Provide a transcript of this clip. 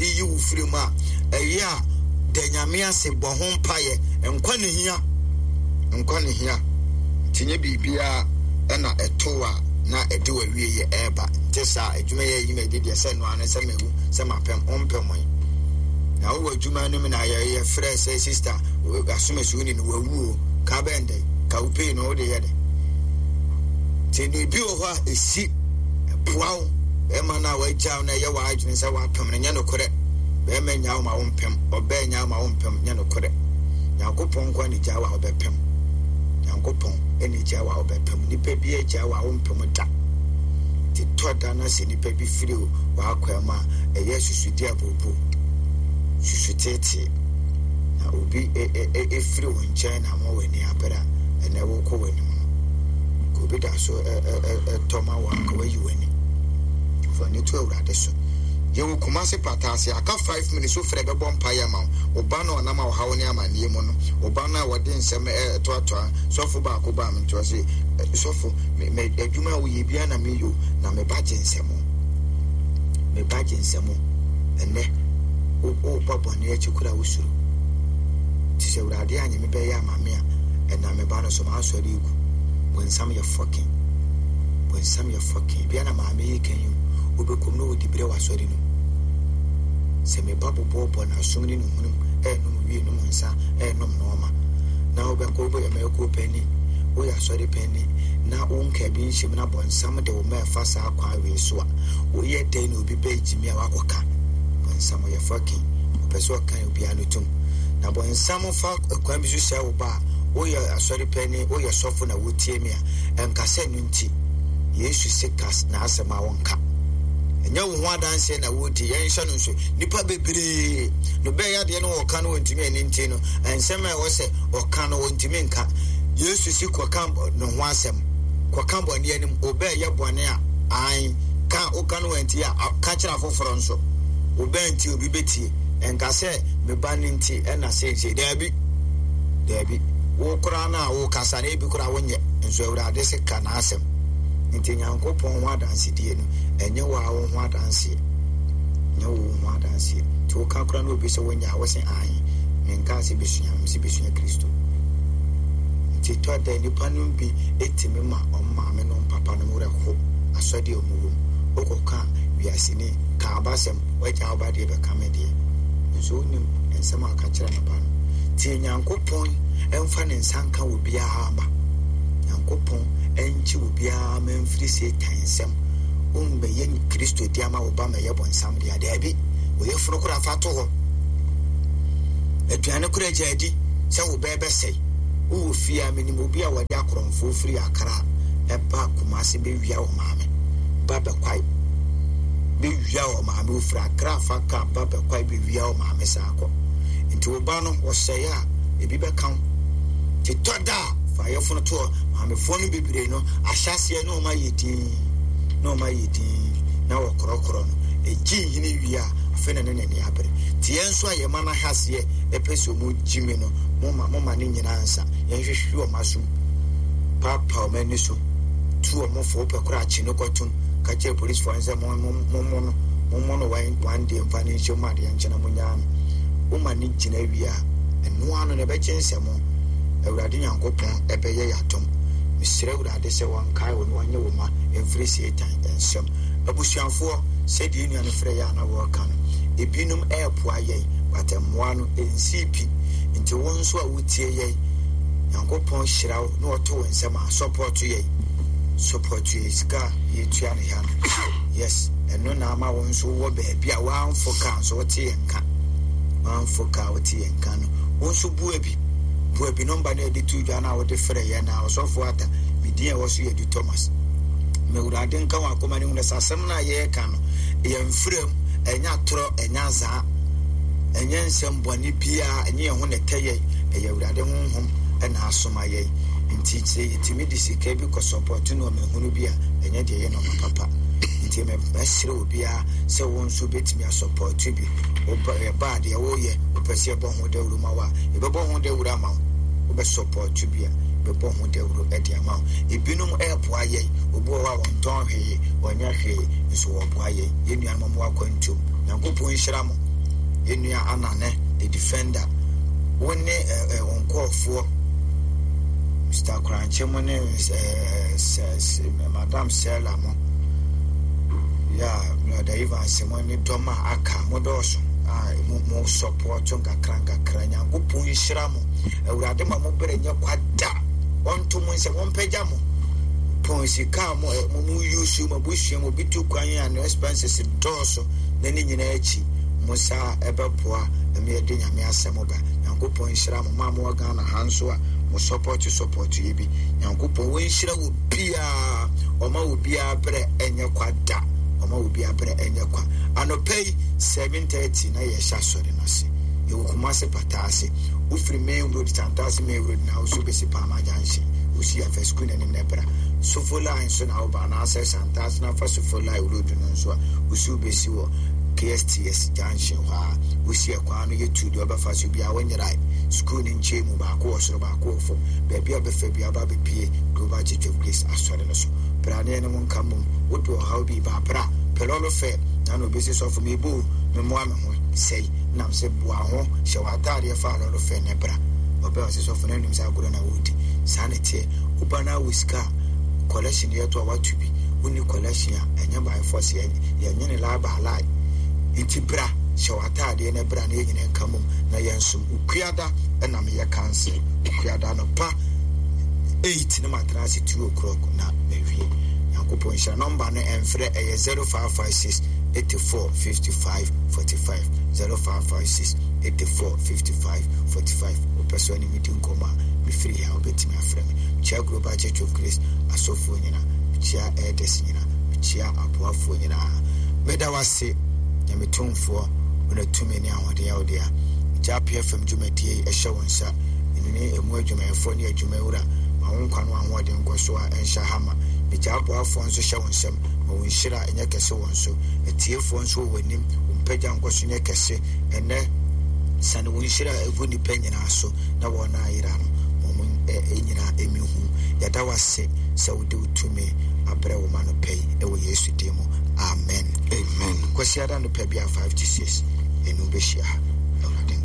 Awurade yi wo firi mu a, ɛyɛ a da Nyame ase, bɔ ho mpaeɛ. Nkwa na hia. Nkwa na hia. Nti nyɛ biribiara ɛna ɛto a na ɛde w'awieɛ ɛreba. Nte saa, adwuma yi a ɛyi m'adi deɛ sɛ ɛno ara ne sɛ mawu, sɛ mapɛm, wompɛ mo yi. Na wowɔ adwuma no mu na yɛfrɛ sɛ sister asomasi wo ni no wawu o, ka bɛn dɛn? Ka wo pay no wode yɛ dɛn? Nti na ebi wɔ hɔ a ɛsi ɛboa wo bɛrima no a wagya wo na ɛyɛ w'adwene sɛ wapem no nyɛ nokorɛ. Bɛrima nya wo ma wompem, ɔbaa nya wo ma wompem, nyɛ nokorɛ. Nyankopɔn nko na gya wo a wobɛpem. Nyankopɔn na gya wo a wobɛpem. Nipa bi agya wo a wompem da. Nti tɔ da na sɛ nipa bi firi w'akwan mu a, ɛyɛ susudi abobo, susu teetee. Na obi efiri wo nkyɛn na ama w'ani abere a, ɛnɛ wokɔ w'anim no. Ka obi da so ɛtɔ ma wo a, ka wayi w'ani. Fa ani to Awurade so. Yɛwɔ Kumasi pata ase. Aka 5 minutes wofrɛ bɛbɔ mpaeɛ ama wo. Wo ba no a ɔnam ɔhaw ne amanneɛ mu no, wo ba no a wɔde nsɛm ɛtoatoa. Sɔfo baako baa me nkyɛn ɔse, sɔfo, me, me adwuma a woyɛ biara na meyɛ o, na me ba gye nsɛm. Me ba gye nsɛm. Ɛnɛ, woba bɔne akyi koraa wosuro. Nti sɛ Awurade anyɛ me bɛyɛ ama me a, ɛnam me ba no so m'asɔre egu. Bonsam yɛ fɔkin. Bonsam yɛ fɔkin. Bia na maame yi kan yi o, wobɛkɔm na wɔdi berɛ wɔ asɔre no mu. Sɛ me ba bobɔɔbɔ n'asom ne ne hunum, ɛɛnom wie, nom nsa, ɛɛnom nɔɔma, na wobɛkɔ wobɛyɛ mɛɛkuo panin, woyɛ asɔre panin, na wo nkaa bi nhyɛ mu na bɔnsam de wo ma ɛfa saa kwan wei so a, woyɛ dɛn na obi bɛgyimi a wakɔka? Bɔnsam ɔyɛ fɔkin. Ɔpɛ sɛ ɔka obiara no tom. Na bɔnsam fa kwan bi so sɛ wo ba a, woyɛ asɔre panin, woyɛ sɔfo na wotie me a, ɛnka sɛ no nti, Yesu se ka n'asɛm a wonka. Ɛnyɛ wo ho adanseɛ na wodi, yɛnhyɛ no nso. Nnipa bebree no bɛyɛ adeɛ no wɔka no wɔntumi ani nti no, nsɛm a ɛwɔ sɛ ɔka no wɔntumi nka. Yesu se kɔka ne ho asɛm, kɔka bɔne anim, wobɛyɛ bɔne a, ae, ka, woka no wɔnti a, ka kyerɛ afoforɔ nso. Wobɛn nti obi bɛtie. Ɛnka sɛ me ba no nti ɛna seesei. Daabi, daabi. Wo koraa no a wokasa no ebi koraa wonyɛ, nso Awurade se ka n'asɛm. Nti Nyankopɔn ho adansedie no, ɛnyɛ wo ara wo ho adanseɛ. Ɛnyɛ wo ho adanseɛ. Nti woka koraa na obi sɛ wonyɛ a, wose ae, menkaa sɛ bɛsua, mese bɛsua Kristo. Nti tɔ da nnipa no bi tumi ma wɔn maame nom papa nom werɛ ho asɔdeɛ a wɔn wɔ mu. Wokɔka wiaseni, ka abasɛm, wagya wo ba deɛ bɛka me deɛ. Nso wonim nsɛm a ɔka kyerɛ ne ba no. Tie Nyankopɔn mfa ne nsa nka obiara ma. Nyankopɔn nkye obiara ma mfiri Satan nsam. Wommɛyɛ Kristo de ama wo ba ma ɛyɛ bɔnsam dea. Daabi, wo yafunu koraa fa to hɔ. Aduane koraa gya adi sɛ wo bɛɛ bɛsɛe. Wowɔ fie a, menim obi a wɔde akorɔmfoɔ firi Accra ɛba Kumasi bɛwia wɔ maame ba bɛkwae. Bɛwia wɔ maame, ofiri Accra fa kaa ba bɛkwae bɛwia wɔ maame saa kɔ. Nti wo ba no wɔsɛe a, ebi bɛka wo. Nti tɔ da a, fa yafunu to hɔ. Maamefoɔ no bebree no, ahyɛaseɛ na wɔn ayɛ dinn, na wɔn ayɛ dinn, na wɔkorɔkorɔ no. Egye nhini wie a, afei na ne n'ani abere. Nti yɛn nso a yɛn mma no ahyɛaseɛ pɛ sɛ wɔn gyimi no, momma momma ne nyinaa nsa. Yɛnhwehwɛ wɔn asom, paapaa wɔn ani so, tu wɔn fo, wopɛ koraa kye no kɔtom, ka kyerɛ polisifoɔ no sɛ mo mo mo no, mo no one day mfa no nhyɛ mu adeɛ nkyɛ na monyaa no. Woma no gyina wie a, ɛno ano no ɛbɛgye nsɛm. Awurade Nyankopɔn ɛbɛyɛ yɛn adom. Mesrɛ Awurade sɛ ɔnkae wo na ɔnye wo mma mfiri Satan nsam. Abusuafoɔ, sɛdeɛ yɛn nua no frɛ yɛn a na wɔreka no, ebinom ɛrepoa yɛn, but mmoa no ɛnsii pi. Nti wo nso a wotie yɛn, Nyankopɔn hyira wo na ɔto wo nsam a, support yɛn. Support yɛn sika a yɛtua no ha no. Yes, ɛno na ama wo nso wowɔ baabi a woamfo kaa nso wote yɛn nka. Woamfo kaa wote yɛn nka no, wo nso boa bi. Boa bi. Nɔmba no a yɛde to dwa no a wode frɛ yɛn na Ɔsɔfo Arthur, me din a ɛwɔ so yɛ Adu Thomas. Ma Awurade nka wɔn akoma no hunu sɛ asɛm no a yɛreka no, yɛmfrɛ mu, ɛnyɛ atorɔ, ɛnyɛ azaa, ɛnyɛ nsɛm bɔne biara, ɛnyɛ yɛn ho na ɛtɛ yɛn, ɛyɛ Awurade honhom na asoma yɛn. Nti sɛ yɛtumi de sika bi kɔ sɔpɔto nneɛma hunu bi a, ɛnyɛ deɛ ɛyɛ nneɛma papa. Nti mɛsrɛ obiara sɛ wo nso bɛtumi asɔpɔto bi. Ɛba a deɛ woyɛ, wopɛ sɛ yɛbɔ ho dawuro ma wo a, yɛbɛbɔ ho dawuro ama wo. Wobɛsɔpɔto bi a, yɛbɛbɔ ho dawuro de ama wo. Ebinom ɛreboa yɛn. Obi wɔ hɔ a wɔntɔn hwee, wɔnyɛ hwee, nso wɔboa yɛn. Yɛn nuanom a wɔwɔ akwantuom, Nyankopɔn nhyira mo. Yɛn nua Anane, the defender, wo ne wo nkurɔfoɔ, Mr. Korankye mo ne Madam Sela mo, yeah, Brother Evans mo ne dɔm a aka mo dɔɔso a mo mo support nkakra nkakra. Nyankopɔn nhyira mo. Awurade ma mo berɛ nyɛ kwa da. Ɔnto mo nsɛm, ɔmpagya mo. Pɔn sika a mo mo mo use mo abusua mo bi tu kwan a no expenses dɔɔso na ne nyinaa akyi mo saa ɛbɛboa ɛma yɛde Nyame asɛm ba. Nyankopɔn nhyira mo. Mo a mowɔ Ghana ha nso a mo support support yɛ bi. Nyankopɔn wɔnhyira wɔ biara. Ɔma wɔ biara berɛ ɛnyɛ kwa da. Ɔma wɔ biara berɛ ɛnyɛ kwa. Anɔpa yi 7:30 na yɛhyɛ asɔre no ase. Yɛwɔ Kumasi Pata ase. Wofiri main road Santase main road na woso bɛsi Palmer Junction. Wosi afa sukuu n'anim na ɛbra. Sofo line so na woba anaasɛ Santase na afa Sofo line road no nso a wosi wobɛsi wɔ KSTS junction hɔ a wosi ɛkwan no yɛ tu deɛ ɔbɛfa so biara wonyerae. Sukuu no nkyɛn mu baako wɔ soro baako wɔ fam. Baabi a ɔbɛfa biara ɔba abɛpue Global Church of Grace asɔre no so. Bra ne yɛne mo nka mmom. Wode ɔhaw bi ba a bra. Pɛ lɔre fɛ na na obɛsi sɔfo mebɔ o memmoa me ho sɛi nam sɛ boa ho hyɛ w'ataadeɛ fa lɔre fɛ ne bra. Ɔbɛ ɔse sɔfo no anim sɛ agorɔ na wodi. Saa na ɛteɛ. Woba na wɔ sika a collection yɛto a woato bi. Wonni collection a ɛnyɛ by force yɛnyene lie by lie. Nti bra hyɛ w'ataadeɛ na bra na yɛn nyinaa nka mmom na yɛnsom. Okuada na meyɛ council. Okuada anɔpa 8 na matena ase 2 o'clock na mawie. Nyankopɔn nhyira. Nɔmba no ɛmfrɛ ɛyɛ 0556 84 55 45 0556 84 55 45. Wopɛ sɛ ɔne me di nkɔmmɔ a mefiri ha wobɛtumi afrɛ me. Mekyia Global Church of Grace asɔfoɔ nyinaa. Mekyia elders nyinaa. Mekyia aboafoɔ nyinaa. Meda wo ase Nyame tumfoɔ wo na tumi ne ahoɔden yɛ wo dea. Gya PFM dwumadie yi hyɛ wo nsa. Ɛno ne ɛmu adwumayɛfoɔ ne adwumawura. Ma wo nkwa ne w'ahoɔden nkɔ so a ɛnhyɛ ha ma. Megya aboafoɔ nso hyɛ wo nsam. Ma wo nhyira nyɛ kɛse wɔn so. Atiefoɔ nso wɔ w'anim. Wo mpagya nkɔ so nyɛ kɛse. Ɛnnɛ, sane wo nhyira gu nnipa nyinaa so na wɔn a ayera no, ma wɔn nyinaa mmɛhu. Yɛda wo ase sɛ wode wo tumi abrɛ wo ma anɔpa yi wɔ Yesu din mu. Amen. Amen. Kwasiada anɔpa biara 5 to 6 yɛne wo bɛhyia ha.